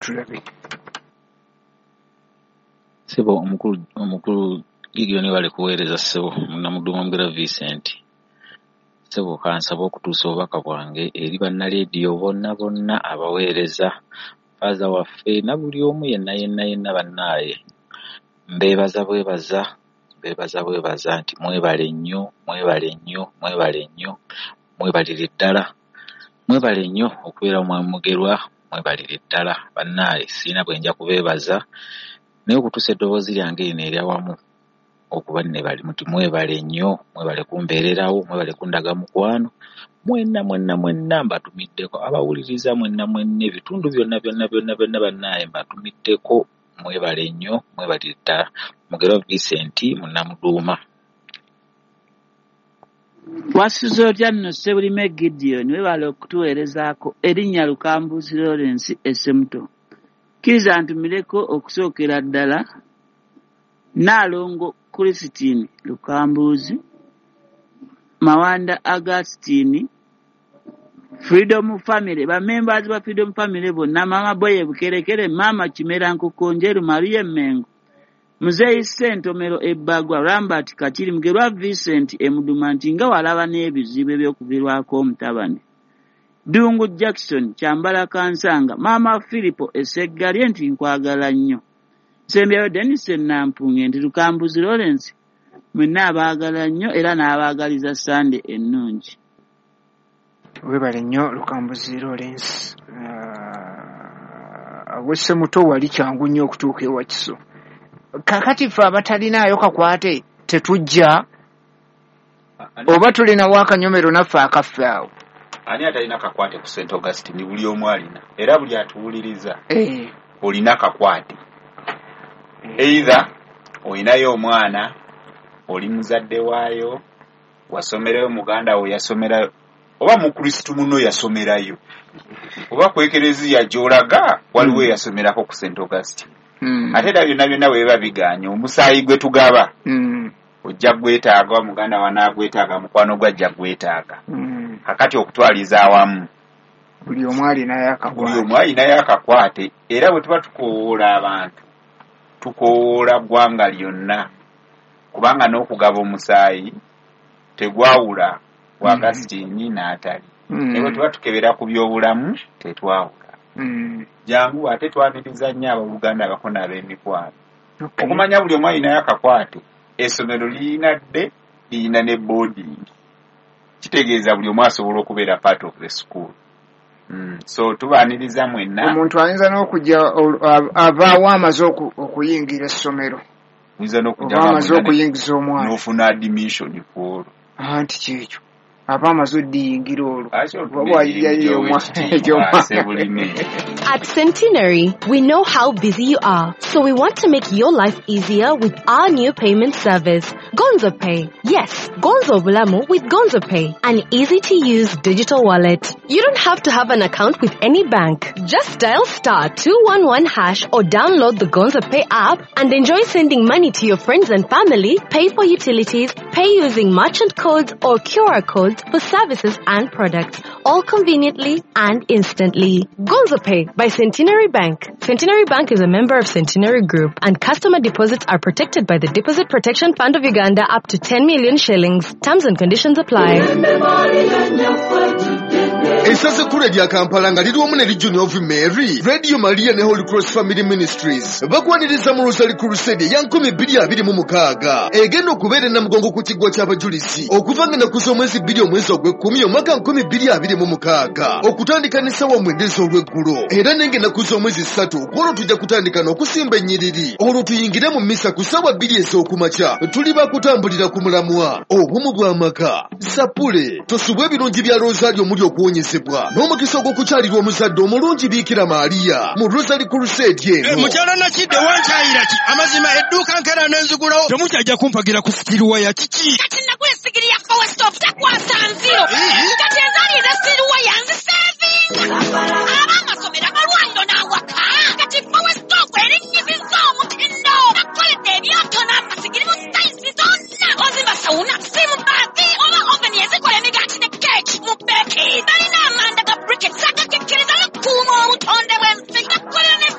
Tulabe. Ssebo omukulu Gideon, webale kuweereza ssebo. Munnamuddu Mugera Vincent. Ssebo, kansaba okutuusa obubaka bwange eri bannaleediyo bonna bonna abaweereza, faaza waffe na buli omu yenna yenna yenna. Bannaaye, mbeebaza bwebaza, mbeebaza bwebaza nti mwebale nnyo, mwebale nnyo, mwebale nnyo, mwebalire ddala, mwebale nnyo okubeera Mwami Mugerwa, mwebalire ddala. Bannaaye, sirina bwe nja kubeebaza, naye okutuusa eddoboozi lyange lino eryawamu okuba nebali muti mwebale nnyo, mwebale kumbeererawo, mwebale kundaga mukwano. Mwenna mwenna mwenna mbatumiddeko, abawuliriza mwenna mwenna, ebitundu byonna byonna byonna byonna, bannaaye mbatumiddeko, mwebale nnyo, mwebalire ddala. Mugerwa Vincent, Munnamuduuma. Wasuze otya nno, Ssebulime Gideon? Webale okutuweerezaako. Erinnya Lukambuzi Lawrence Essemuto. Kkiriza ntumireko okusookera ddala Nnaalongo Christine Lukambuzi, Mawanda Augustine, Freedom Family, bamembers ba Freedom Family bonna, Maama Boye Bukerekere, Maama Kimera Nkokonjeru, Maria Mengo, Muzeeyi Ssentomero Ebbagwa, Rambert Kakiri, Mugerwa Vincent Emuduma, nti nga walaba n'ebizibu eby'okuviirwako omutabani. Ddungu Jackson Kyambala Kansanga, Maama Philipo Eseggalye, nti nkwagala nnyo. Nsembyayo Denis Nampunge, nti Lukambuzi Lawrence mwenna abaagala nnyo era n'abaagaliza Sande ennungi. Webale nnyo, Lukambuzi Lawrence. Awessemuto wali kyangu nnyo okutuuka ewakiso. Kakati ffe abatalinayo kakwate tetujja, oba tulinawo akanyomero naffe akaffe awo? Ani atalina kakwate ku St Augustine? Buli omu alina, era buli atuwuliriza olina kakwate. Either olinayo omwana, oli muzadde waayo, wasomerayo, muganda wo yasomerayo, oba mukristu muno yasomerayo, oba ku ekereziya gy'olaga waliwo eyasomerako ku St Augustine. Ate era byonna byonna bwe biba biganye, omusaayi gwe tugaba ojja gwetaaga, muganda wanaagwetaaga, mukwano gwe ajja gwetaaga. Kakati okutwaliza awamu, buli omu alinayo buli akakwate. Omu alinayo akakwate. Era bwe tuba tukoowoola abantu, tukoowoola ggwanga lyonna, kubanga n'okugaba omusaayi tegwawula wa Augustine n'atali. Naye bwe tuba tukebera ku byobulamu, tetwawula. Jangu, ate twaniriza nnyo abooluganda, abako n'ab'emikwano. Okumanya buli omu alinayo akakwate, essomero lirina dde, lirina ne boarding, kitegeeza buli omu asobola okubeera part of the school. So tubaaniriza mwenna. Omuntu ayinza n'okujja avaawo amaze okuyingira essomero. Oyinza n'okujja oba nga amaze mwena okuyingiza omwana n'ofuna admission ku olwo. Anti kyekyo, aba amaze oddiyingira olwo. Lwaki oba otunda bw'ayingira emirimu omwana gy'owekitiibwa, Ssebulime? At Centenary, we know how busy you are, so we want to make your life easier with our new payment service, Gonzo Pay. Yes, Gonzo Bulamu with Gonzo Pay, an easy to use digital wallet. You don't have to have an account with any bank. Just dial *211# or download the Gonzo Pay app and enjoy sending money to your friends and family, pay for utilities, pay using merchant codes or QR codes for services and products, all conveniently and instantly. Gonzo Pay by Centenary Bank. Centenary Bank is a member of Centenary Group, and customer deposits are protected by the Deposit Protection Fund of Uganda up to 10 million shillings. Terms and conditions apply. Essaza ekkulu erya Kampala nga liri wamu ne Legion of Mary, Radio Maria ne Holy Cross Family Ministries bakwaniriza mu Rosary Crusade eya 2026 egenda okubeera e Namugongo ku kiggwa ky'abajulizi okuva nga ennaku z'omwezi 2 omwezi ogw'ekkumi omwaka 2026 okutandika n'essaawa 9 ez'olweggulo. Era nenga ennaku z'omwezi 3 ku olwo tujja kutandika n'okusimba ennyiriri, olwo tuyingire mu misa ku ssaawa 2 ez'okumakya. Tuli bakutambulira ku mulamwa obumu bw'amaka. Sapule tosubwa ebirungi bya Rosario omuli okuwonyezebwa n'omukisa ogw'okukyalirwa omuzadde omulungi Biikira Maaliya mu Rosary Crusade eno. Mukyala Nakidde, wankyayira ki? Amazima edduuka nkera nenzigulawo, temukyajja kumpagira ku steel wire, kiki? Kati nakuwa esigiri ya power stove, takwasa nziro. Kati ezaali eza steel wire nzisevinga. Ab'amasomero amalwa.